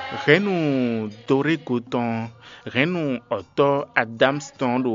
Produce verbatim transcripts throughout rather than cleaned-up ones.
Hɛ̌nnu Dorego tɔn, hɛ̌nnu ɔ̌tɔ́ Adams tɔn ɖo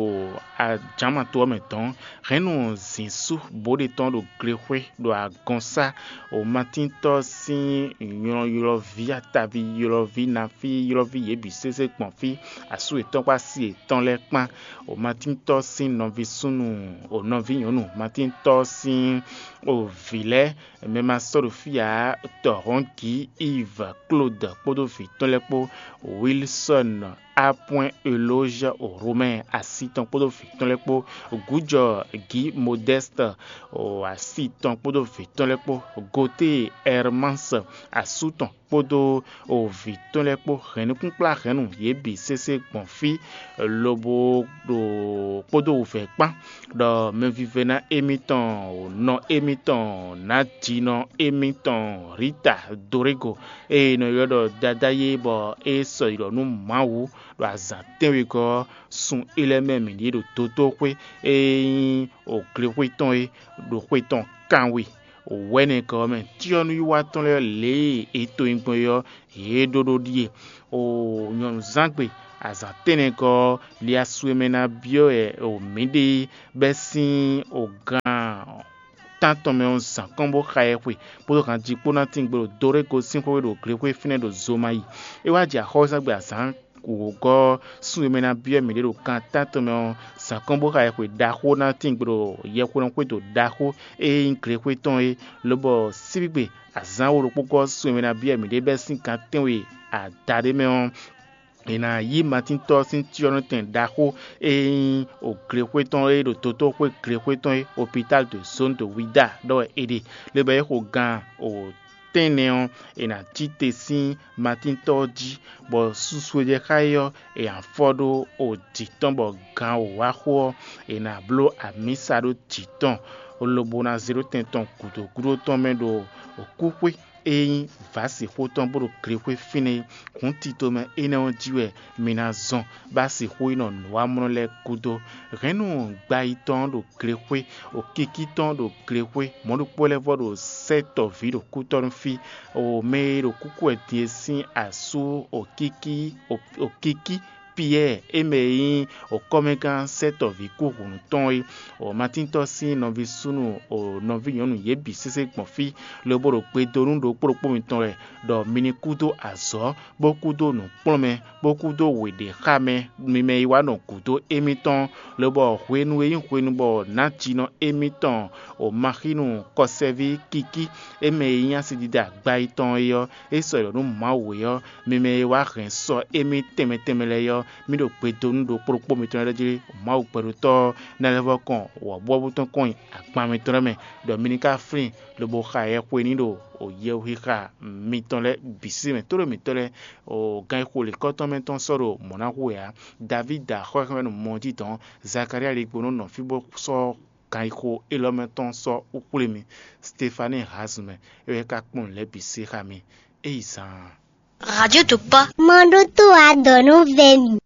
ajǎnmato ɔ́ mɛ dɔn, hɛ̌nnu zǐnsú Bode tɔn ɖo glexwé ɖo agɔnsá, o Matíntɔ́ sín nylɔylɔví, ataví ylɔví, nafí ylɔví, yě bǐ sésé gbɔn fí, asú yětɔn kpó asi yětɔn lɛ́ɛ kpán. O Matíntɔ́ sín nɔví súnnu, o nɔví nyɔ̌nu Matíntɔ́ sín o vǐ lɛ́ɛ, mɛ ma sɔ́ ɖo fí ǎ, Tɔhɔ̌ngi Iv Klód kpódó vǐ tɔn lɛ́ɛ kpó, Wilsɔ́n Apwɛ́n Elózh o Romɛ́ɛ asi tɔn kpódó vǐ tɔn lɛ́ɛ kpó, Gǔjɔ Gǐ Modɛ́st o asi tɔn kpódó vǐ tɔn lɛ́ɛ kpó, Gotée Ɛrmás asú tɔn kpódó o vǐ tɔn lɛ́ɛ kpó, hɛ̌nnukúnkplá hɛ̌nnu yě bǐ sésé gbɔn fí, lobo ɖo kpódó wǔvɛ́ kpán, ɖɔ mɛvívɛ́ná émítɔn, nɔ émítɔn, nǎjínɔ émítɔn Rita Dorego, e è nɔ ylɔ́ ɖɔ Dadá é, bɔ é sɔ́ yi ɖɔ nú Mawu ɖo azǎn tɛ́nwegɔ́ ɔ́, sun é lɛ́ɛ mɛ mǐ ɖíe ɖo dotóxwé e nyí glexwé tɔn é, ɖo xwé tɔn kanwe wɛ̌nɛgɔ́ ɔ́ mɛ. Cyɔ́núwiwa tɔn lɛ́ɛ lě e è to nyi gbɔn é ɔ́, yě ɖó ɖó ɖíe. O nyɔ̌nuzángbe azǎn tɛ́nnɛgɔ́ ɔ́, Liasu e mɛ ná byɔ́ wɛ o mǐ ɖe é bɛ́ sín o gan tántɔn mɛ ɔ́ zǎn kɔn bó xa ɛ xwe, kpódó hanjí kpó ná tín gbe ɖo Dorego sín xwé ɖo glexwé fínɛ́ ɖo Zomayi. É wá jɛ axɔ́súzángbe azǎn wǒgɔ́ ɔ́, sun e mɛ ná byɔ́ mǐɖée ɖo kan tántɔn mɛ ɔ́, zǎn kɔn bó xa ɛ xwe ɖaxó ná tín gbe ɖo yɛhweɖɔxwédo ɖaxó e nyí glexwé tɔn é, lobɔ síbígbe azǎn wo ɖokpó gɔ́ sun e mɛ ná byɔ́ mǐɖée bɛ́ sín gan tɛ́nwe adaɖé mɛ ɔ́, è nǎ yí Matíntɔ́ sín cyɔ́nɔtɛn ɖaxó e nyí o glexwé tɔn e ɖo dotóxwé glexwé tɔn é, Hôpital de Zone de Wida ɖɔ wɛ è ɖe, lobɔ é xo gan o tɛ́nnɛ ɔ́, è nǎ cí te sín Matíntɔ́ ɔ́ jí, bɔ susu e jɛ xá é ɔ́, è nǎ fɔ ɖó o jǐ tɔn, bɔ gan wǒ wá xo ɔ́, è nǎ bló amǐsa ɖó jǐ tɔn, lobo ná zé ɖó tɛn tɔn gǔdo gúdo tɔn mɛ ɖo kúxwé e nyí vǎsixwó tɔn bó ɖo glexwé fínɛ́ é. Hǔn tito mɛ énɛ́ ɔ́ jí wɛ mi ná zɔn, bó ná sixú yi nɔ nǔwamlɔ lɛ́ɛ gúdo. Hɛ̌nnu gbayitɔn ɔ́ ɖo glexwé, o kíkí tɔn ɔ́ ɖo glexwé, mɔ̌ ɖokpó lɛ́ɛ vɔ ɖo sɛ́ tɔ̌ví ɖo kútɔ́ nú fí, o mɛ e ɖo kúkú wɛ din e sín asú o kíkí o kíkí Piyɛ́ɛ, é mɛ e nyí o kɔ́mɛgán sɛ́ tɔ̌ví kú hǔnnu tɔn é, o Matíntɔ́ sín nɔví súnnu, o nɔví nyɔ̌nu yě bǐ sésé gbɔn fí, lobo ɖo gbe dó nú ɖokpó ɖokpó mitɔn lɛ́ɛ, ɖɔ mi ní kú dó azɔ̌, bó kú dó nǔkplɔ́nmɛ, bó kú dó wěɖéxámɛ, mi mɛ e wá nɔ gǔdo émítɔn, lobɔ hwenu e nyí hwenu bɔ nǎjínɔ émítɔn o Maxínu kɔsɛví kíkí, é mɛ e nyí asidida gbayitɔn é ɔ́, é sɔ́ yi ɖɔ nú Mawu é ɔ́, mi mɛ e wá hɛn sɔ émí tɛnmɛ tɛnmɛ lɛ́ɛ é ɔ́, mì ɖo gbe dó nú ɖokpó ɖokpó mitɔn lɛ́ɛ jí. Mawu gbɛɖotɔ́ ɔ́ ná lɛ́ vɔ́ kɔn wɔ̌buwɔ́bú tɔn kɔn nyi agban mitɔn lɛ́ɛ mɛ, ɖɔ mi ní ka flín, lobo xa yɛhwenín ɖo yɛhwexixa mitɔn lɛ́ɛ bǐ sí mɛ, tóɖó mitɔn lɛ́ɛ o gan e xo lěkɔ́tɔn mɛ tɔn sɔ́ ɖo mɔ̌ ná hu wɛ ǎ. Davída xɔ́hɛ́mɛnu mɔ jí dɔn, Zakalía ligbónú nɔ fí bó sɔ́ gan e xo élɔ́ mɛ tɔn sɔ́ xwlé mi. Stefani Hazumɛ, é wɛ ka kpɔ́n nǔ lɛ́ɛ bǐ se xá mi. É yi zaan. Radio Topa. Mɔ ɖó tó wá dɔ nú vɛ mi.